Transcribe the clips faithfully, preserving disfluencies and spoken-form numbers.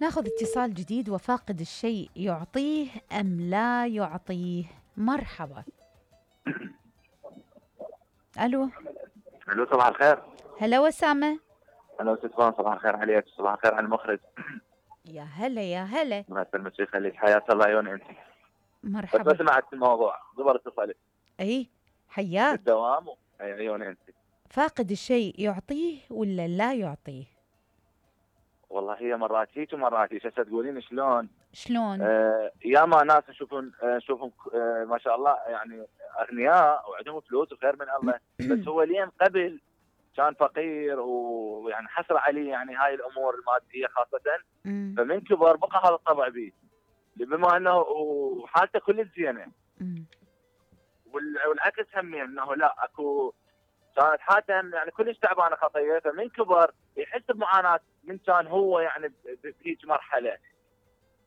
ناخذ اتصال جديد. وفاقد الشيء يعطيه أم لا يعطيه؟ مرحبا. ألو. الو صباح الخير. هلا وسامة. هلا استاذ فان، صباح الخير عليك، صباح الخير على المخرج. يا هلا يا هلا. الله يسلمك ويخليك، حياك الله عيوني انت. بس مرحبا. ما سمعت الموضوع، زبر اتصلت اي حياك. بالدوام و... اي عيوني انت. فاقد الشيء يعطيه ولا لا يعطيه؟ والله هي مرات هيك ومرات هيك، هسه تقولين شلون؟ شلون؟ آه ياما ناس نشوفهم آه نشوفهم آه ما شاء الله يعني اغنياء وعندهم فلوس وخير من الله، بس هو لين قبل كان فقير ويعني حسر عليه يعني هاي الامور الماديه خاصه، فمن كبر بقى هذا الطبع به، بما انه وحالته كلش زينه. والعكس همين انه لا اكو كانت حالته يعني كلش تعبانه خطيه، فمن كبر يحس بمعاناه من كان هو يعني بهيج مرحله.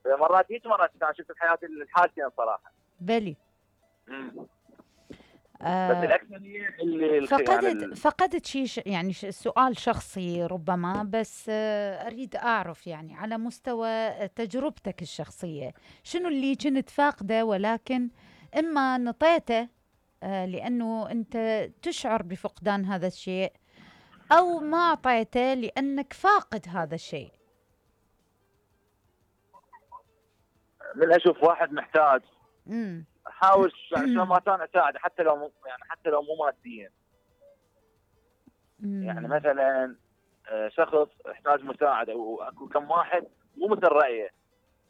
مرات هيك مرات كان شفت بحياتي الحالتين صراحه. بلي. امم آه بس الاكثريه اللي فقدت يعني فقدت شيء يعني سؤال شخصي ربما، بس آه اريد اعرف يعني على مستوى تجربتك الشخصيه شنو اللي كنت فاقده ولكن اما نطيته آه لانه انت تشعر بفقدان هذا الشيء، او ما اعطيته لانك فاقد هذا الشيء. من اشوف واحد محتاج امم احاول يعني شلون ما كان اساعده، حتى لو مو يعني حتى لو مو ماديا. يعني مثلا شخص يحتاج مساعده واكو كم واحد مو مثل رايه،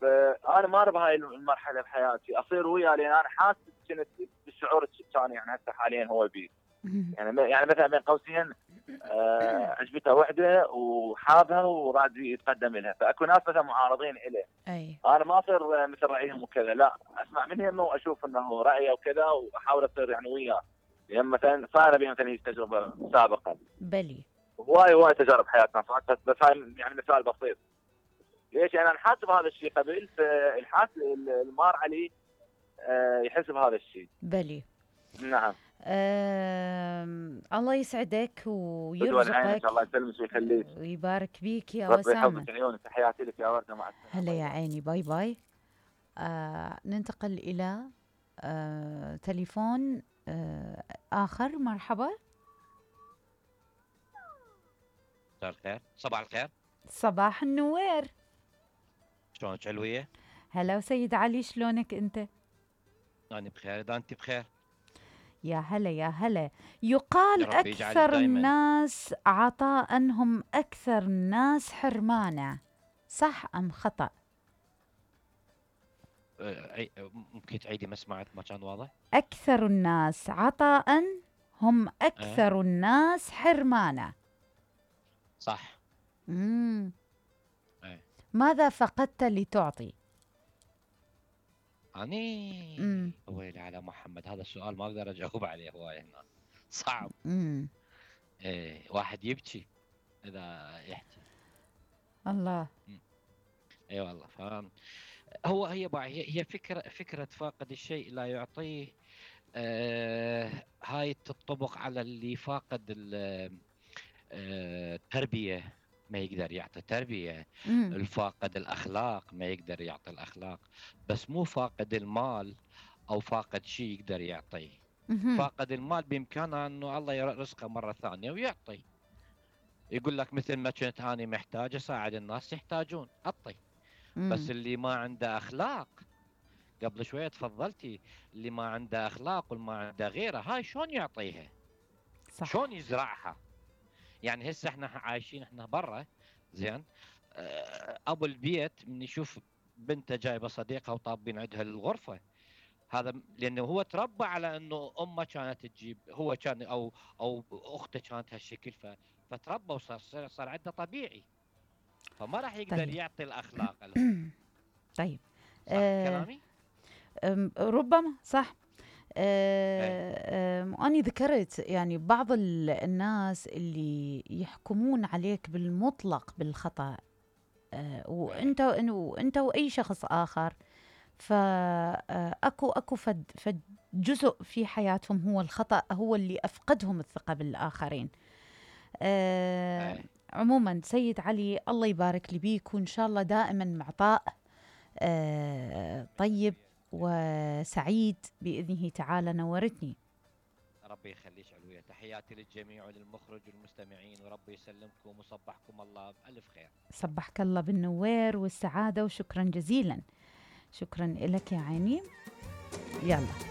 فانا ما ارى بهاي المرحله بحياتي اصير وياه، لان انا حاسس كنت بالشعور الثاني يعني هسه حاليا هو بيه. يعني يعني مثلا بين قوسين آه عجبته وحده وحابها وراد يتقدم لها، فاكو ناس مثلا معارضين له. اي انا ما اصير مثل رايهم وكذا، لا اسمع منهم واشوف انه رايه وكذا واحاول اصير يعني وياه. يعني مثلا صار بي مثلا هي تجربه سابقا. بلي. هواي هواي تجارب حياتنا صارت، بس هاي يعني مثال بسيط. ليش؟ يعني انا حاسس بهذا الشيء قبل، فالحاس المار عليه آه يحس بهذا الشيء. بلي. نعم. آه الله يسعدك ويرزقك. الله يسلمك ويخليك ويبارك بيك يا ربي وسامة. يحفظك عيونك، تحياتي لك يا وردة، مع السلامة. هلا يا عيني، باي باي. آه ننتقل إلى آه تليفون آه آخر. مرحبا. مساء الخير، صباح الخير. صباح النوير. شلونك علوية؟ هلا وسيد علي، شلونك أنت؟ أنا بخير، إذا أنت بخير. يا هلا يا هلا. يقال أكثر الناس عطاء هم أكثر الناس حرمانا، صح أم خطأ؟ ممكن تعيدي؟ ما سمعت، ما كان واضح. أكثر الناس عطاء هم أكثر أه؟ الناس حرمانا. صح. امم أه. ماذا فقدت لتعطي؟ أني ويلي على محمد، هذا السؤال ما أقدر أجاوب عليه، هواي هنا صعب. امم إيه، واحد يبكي إذا يحكي. الله. اي أيوة والله. فاهم. هو هي هي هي فكره فكره فاقد الشيء لا يعطيه. آه هاي تطبق على اللي فاقد التربيه، ما يقدر يعطي تربيه. مم. الفاقد الاخلاق ما يقدر يعطي الاخلاق، بس مو فاقد المال او فاقد شيء يقدر يعطيه. مم. فاقد المال بامكانه انه الله يرزقه مره ثانيه ويعطي. يقول لك مثل ما كنت اني محتاج اساعد الناس يحتاجون، اعطي. بس اللي ما عنده اخلاق، قبل شويه تفضلتي، اللي ما عنده اخلاق والما عنده غيره، هاي شلون يعطيها؟ صح. شلون يزرعها؟ يعني هسه احنا عايشين احنا برا، زين، ابو البيت من يشوف بنته جايبه صديقها وطابين عندها الغرفه، هذا لانه هو تربى على انه امه كانت تجيب، هو كان او او اخته كانت هالشكل، فتربى وصار صار عنده طبيعي، فما راح يقدر طيب. يعطي الاخلاق. طيب صح آه كلامي؟ ربما صح. آه أنا ذكرت يعني بعض الناس اللي يحكمون عليك بالمطلق بالخطأ، آه وانت وانت واي شخص اخر، فاكو اكو فد فد جزء في حياتهم هو الخطأ، هو اللي افقدهم الثقة بالاخرين. آه عموما سيد علي الله يبارك لي بيك، وإن شاء الله دائما معطاء آه طيب وسعيد بإذنه تعالى. نورتني. ربي يخليك علوية، تحياتي للجميع وللمخرج والمستمعين، وربي يسلمكم وصبحكم الله بألف خير. صبحك الله بالنوير والسعادة، وشكرا جزيلا. شكرا لك يا عيني. يلا